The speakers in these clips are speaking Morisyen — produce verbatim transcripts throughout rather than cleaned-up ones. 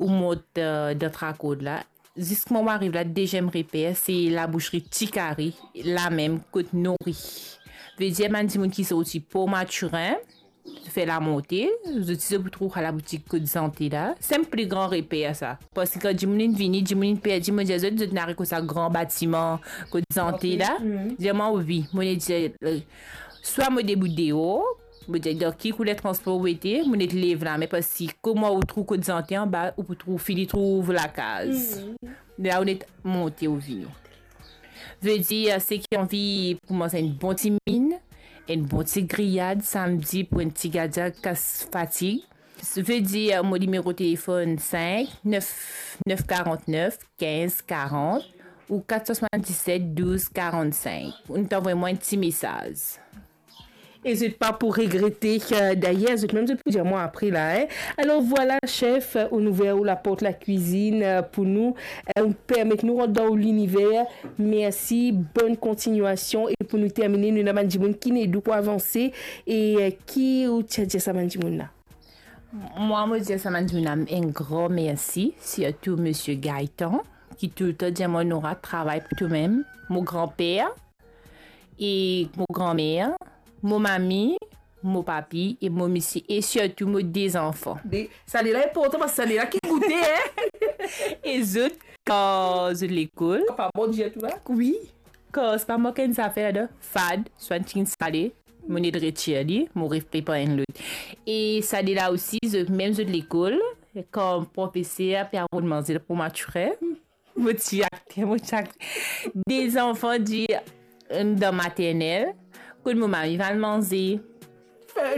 ou mont, euh, dan Trakord la, ziska mo ariv la, deziem reper, se labouserie Ti Kari, lamem kot Nori. Vedir bann dimoun ki sorti Port Mathurin, fer lamonte, zot, zot pou trouv laboutik kot Zante la. Se enn pli gran reper sa. Parski kan dimoun inn vini, dimoun inn perdi, mo dir zot, zot inn ariv kot sa gran batiman kot Zante la. Dir mwa, wi, mo inn dir, euh, swa mo debout deor, mo dir, dan ki kouler transpor ou ete, mo inn lev lame, parski kouma ou trouv kot Zante anba, ou pou trouv, fini trouv lakaz. La ou inn monte ou vini. Vedir, seki anvi pou manz enn bon ti min, enn bon ti griyad samdi pou enn ti gardien kas fatig. Vedir, mo nimero telefonn sink nef nef karant-nef kinz karant ou kat san swasann-diset douz karant-sink. Ou inn anvoy mwa enn ti mesaz. E zot pa pou regrete, euh, dayer, zot mem zot pou dir mwa apre la, hein. Alor vwala, chef, euh, ou ouver ou laport lakwizinn, euh, pou nou, euh, ou permet nou rant dan ou liniver. Mersi, bonn kontinyasion. E pou nou termine, nou ena bann dimoun ki inn ed ou pou avanse. E, euh, ki ou ti a dir sa bann dimoun la? Mwa, mo dir sa bann dimoun la enn gran mersi, sirtou misie Gaëtan, ki toultan dir mwa, Nora, travay pou tomem. Mo granper, e mo granmer, mo mami, mo papi e mo misie, e sirtou mo de zanfan. De, sa de la inportan, parski sa de la ki goute, hein? E zot, kan zot lekol. Papa, bon Dieu, tou la? Wi. Kan se pa mank enn zafer ladan, fad, swa enn tigit sale, mo inn retir li, mo reprepar enn lot. E sa de la osi, zot, mem zot lekol, kan profeser pe rod manze pou mature, mo ti akte, mo ti akte. De zanfan dir, euh, dan maternel, kot mo mami vann manze.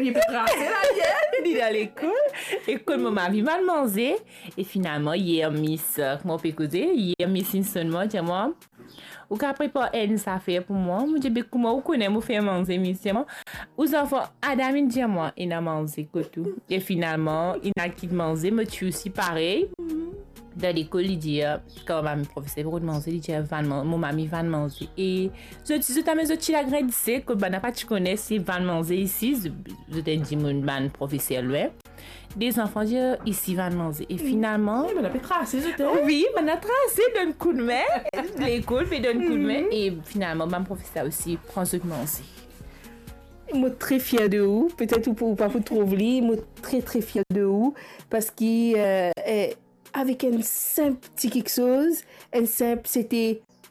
Li pe trase la, li, hein? Li dan lekol, e kot mo mami vann manze, e finalman, yer Miss, euh, kouma ou pe koze, yer Miss inn sonn mwa, dir mwa, ou kapav prepar enn zafer pou mwa? Mo dir, be kouma ou kone mo fer manze, Miss? Dir mwa, ou zanfan, Adam inn dir mwa, ena manze kot ou. E finalman, inn al kit manze, mo ti osi parey. Dan lekol, li dir, kan mami profeser pe rod manze, li dir, vann man-, mo mami vann manze. E zot, zot amenn zot ti lagrin disek, kot bann la pa ti kone si vann manze isi, zot, zot inn dimoun bann profeser lwin. De zanfan dir, isi vann manze. E finalman, wi, bann la pe trase zot, hein? Wi, bann la trase, donn koudme. Lekol pe donn koudme. E finalman, bann profeser osi pran zot manze. Mo tre fier de ou. Petet ou pou, ou pa pou trouv li, mo tre, tre fier de ou. Parski, euh, euh, avek enn sinp ti kiksoz, enn sinp, sete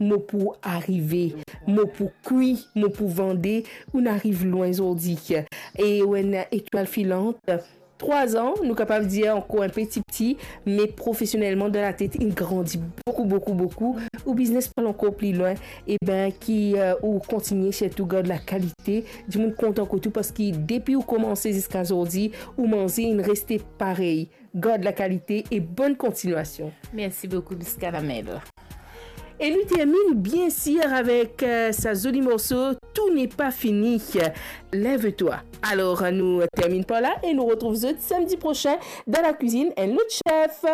mo pou arive, mo pou kwi, mo pou vande, ou'nn ariv lwin zordi. E ou enn etwal filant, trwa an, nou kapav dir ankor enn pe tipti, me profesionelman dan latet, inn grandi boukou, boukou, boukou. Ou biznes pou al ankor pli lwin, e ben, ki, euh, ou kontigne sirtou gard lakalite, dimoun kontan kot ou, parski depi ou koumanse ziska zordi, ou manze inn reste parey. Gard lakalite e bonn kontinyasion. Mersi boukou, Miss Caramel. E nou terminn, bien sir, avek, euh, sa zoli morso, Tout n'est pas fini, Lève-toi. Alor, nou terminn par la e nou retrouv zot samdi prosin dan lakwizinn, enn lot chef.